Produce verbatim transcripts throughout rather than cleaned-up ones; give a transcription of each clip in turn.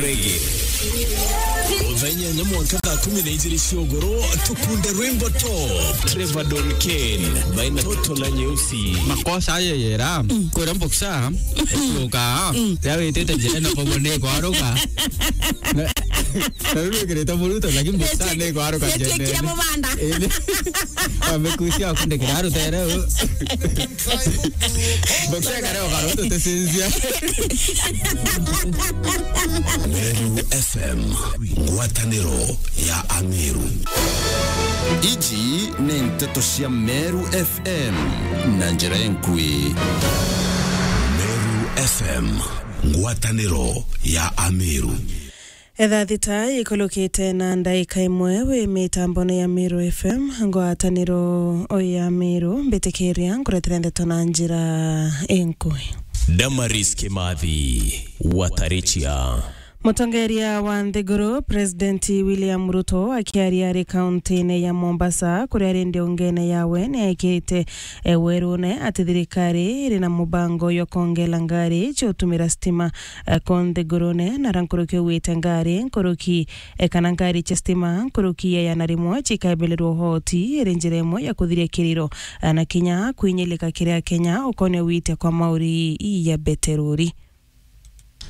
Rege. Thaa inyanya mwanka thaa kumi na ijiri cia ugoro, tukunde rwimbo top. Trevor Don Kane, baina toto na nyeusi. Makosa aye yera, kwira mboksa, ekuka, ya witite njira na bobo ni kwaruka. Na, na riu wikirite muruto, lakini mboksa ni kwaruka njene. Kira mubanda. Indi, amekusia akundikira arutere u. Mboksa kare ukaruto tesinzia. Meru F M, ngwataniro ya Ameru. Iji ni nteto cia Meru F M na njira enkui. Meru F M, ngwataniro ya Ameru. Etha thita ikulukite na ndaika imwe wi mitambone ya Meru F M, ngwataniro ya Meru, mbitikiria nkuretera ndeto na njira enkui. Damaris Kimathi, Watarichia. Mutongeria wa nthiguru, President William Ruto, akiaria ari kaunti-ini ya Mombasa, kuria ari ndiungene yawe, ni aikite, e, werune ati thirikari iri na mubango jwa kwongela ngari cia utumira stima, e, ko nthigurune, na ra nkuruki ugwite ngari nkuruki, e, kana ngari cia stima nkuruki ya igana rimwe cikaibelerwa uhoti, iri njira imwe ya kuthiria kiriro, e, na kinya kwinyilika kiri Akenya ukonia witia kwa mauri ya beterori.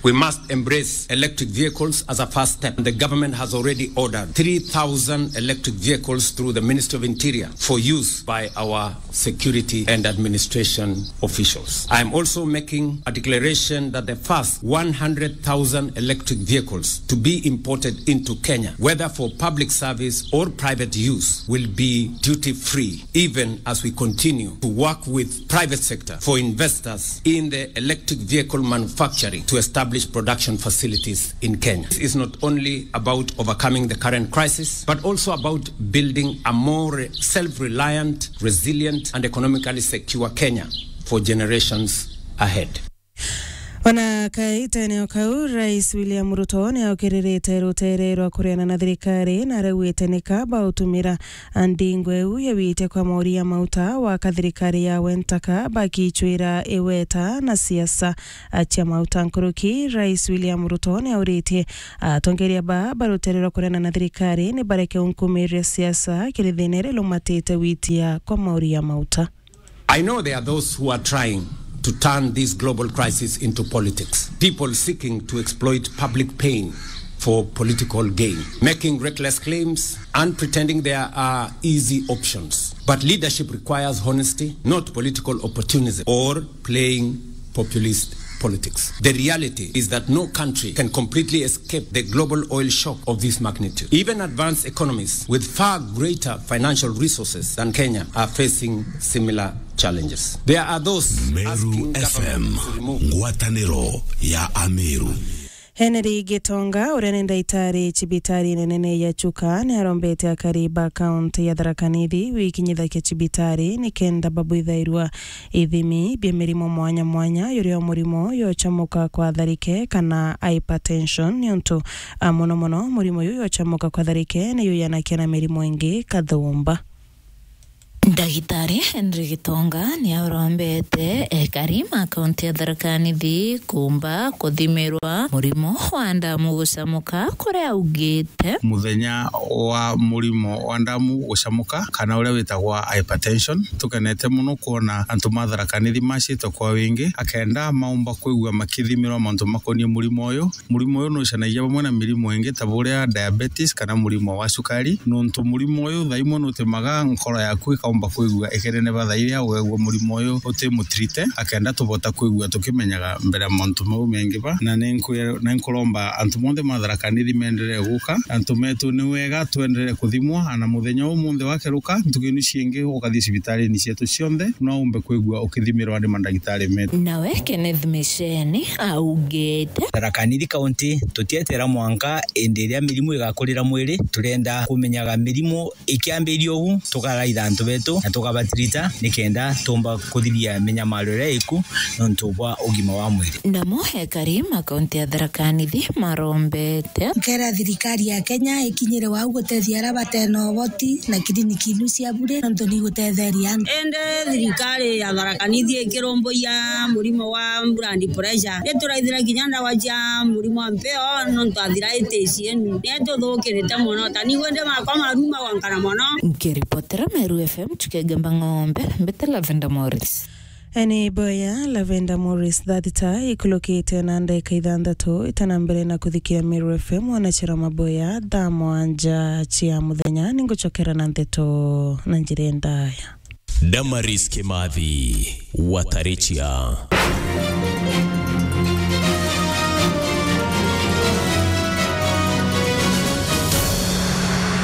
We must embrace electric vehicles as a first step. The government has already ordered three thousand electric vehicles through the Ministry of Interior for use by our security and administration officials. I am also making a declaration that the first one hundred thousand electric vehicles to be imported into Kenya, whether for public service or private use, will be duty-free, even as we continue to work with private sector for investors in the electric vehicle manufacturing to establish production facilities in Kenya. This is not only about overcoming the current crisis, but also about building a more self-reliant, resilient, and economically secure Kenya for generations ahead. Ona kaitene o kau, Rais William Ruto ni aukiririte rutere rwa kuriana na thirikari, na araugite ni kaba utumira ndingo iu ya witia kwa mauri ya mauta wa ka thirikari yawe ntaka bakichwira iweta na siasa cia mauta nkuruki. Rais William Ruto ni auritie atongeria ba, ba rutere rwa kuriana na thirikari ni bareke unkumiria siasa kiri thina iria ilumatite witia kwa mauri ya mauta. I know there are those who are trying to turn this global crisis into politics. People seeking to exploit public pain for political gain, making reckless claims and pretending there are easy options. But leadership requires honesty, not political opportunism or playing populist politics. The reality is that no country can completely escape the global oil shock of this magnitude. Even advanced economies with far greater financial resources than Kenya are facing similar challenges. There are those Meru asking F M, government to remove ngwataniro ya Ameru. Henry Gitonga, uria ni ndaitari cibitari nene ya Chuka, ni arombete akari ba kaunti ya Tharaka Nithi wikinyithakia cibitari ni kenda babwithairwa ithimi bia mirimo mwanya mwanya, yuria murimo yochamuka kwa tharike kana hypertension, niuntu, a, mono mono murimo uyu yochamuka kwa tharike ni yuyanakia na mirimo ingi kathumba. Ndagitari Henry Gitonga ni arombete ekari ma kaunti ya Tharaka Nithi kumba kuthimirwa murimo wa ndamu gucamuka, kuria augite, muthenya wa murimo wa ndamu gucamuka kana uria witagwa hypertension, tukenete mono kwona antu ma Tharaka Nithi macite kwa wingi, akenda maumba kwigua makithimirwa mantu makonie murimo uyu. Murimo uyu nucanagia bamwe na mirimo ingi ta buria diabetes kana murimo wa cukari, nontu murimo uyu thaa imwe nutimaga nkoro yaku ikaumba kwigua ikineneba thaa iria ugegua murimo uyu utimutrite, akenda tubota kwigua tukimenyaga mbere ya mantu mau mengi ba. Na ninkwira, na nkuromba antu monthe ma Tharaka Nithi menderee guka, antu metu ni wega twenderee kuthimwa, ana muthenya umunthe wakeruka, ntuku inu ciingi ukathii cibitarini cietu cionthe, no umbe kwigua ukithimirwa ni mandagitari metu. Nawe Kenneth Misheni augite, Tharaka Nithi County tutietera mwanka indi iria mirimu igakurira mwiri, turenda kumenyaga mirimu ikiambiria ugu, tukaraitha antu betu tu na tukabatirita nikenda tumba kuthiria minyamaro iria iku nontu bwa ugima wa mwiri. Namo ekari ma kaunti ya Tharaka Nithi marombete. Nkera thirikari ya Kenya ikinyire wau gutethia aria batena uboti na kiriniki inu cia bure nontu ni gutetheria antu. Indi thirikari ya Tharaka Nithi ikirumbuia murimo wa blood pressure, ni turaithira kinya ndawa cia murimo wa mpeo nontu arthritis inu ni tuthukirite mono. Tani wende makwa maruma gwankana mono. Nkiripotera Meru F M, Chukegamba Ng'ombe, mbete Lavender Morris. Eni boya Lavender Morris thathita ikulukite na ndeka ithanthatu itana mbere na kuthikia Meru F M, wanachira maboya thaa mwanja cia muthenya. Ninguchokera na ndeto na njira ndaya. Damaris Kimathi, Watarichia.